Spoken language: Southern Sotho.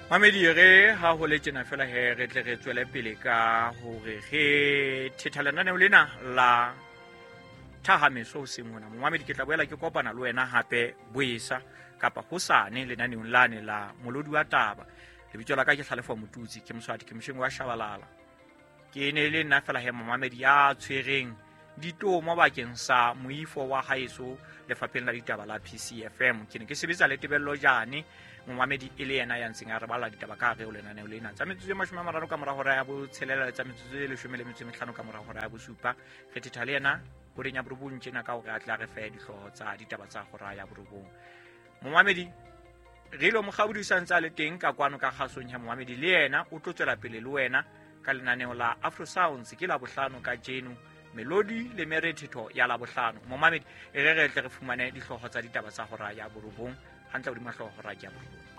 Mamedi, re ha ho le tjena fela he, re tle re tswele pele ka hore re thetha lenaneo lena la thahameso hoseng hona. Momamedi, ke tla boela ke kopana le wena hape boesa kapa hosane lenaneong lane la Molodi wa Taba. Lebitso la ka ke Tlhalefo Motutsi, ke Moswati, ke mosheng wa Shabalala. Ke ne le nna fela he momamedi ya tshwereng ditomo bakeng sa moifo wa haeso lefapheng la ditaba la PCFM. Ke ne ke sebetsa le Tebello Jane, momamedi, e le yena ya ntseng a re balla ditaba ka hare ho lenaneo lena. Tsa metsotso e 30 ka mora hora ya botshelela le tsa metsotso e 15 ka mora hora ya bosupa, re thetha le yena horeng ya borobong tjena ka hore a tla re fe dihlooho tsa ditaba tsa hora ya borobong. Momamedi, re ilo mokgabodi o sa ntse a le teng ka kwano ka kgasong ya momamedi, le yena o tlo tswela pele le wena ka lenaneo la Afro Sounds. Ke Labohlano ka jeno, melodi le merethetho ya Labohlano. Momamedi, e re re tle re fumane dihlooho tsa ditaba tsa hora ya borobong hantle hodima hlooho hora ya borobong.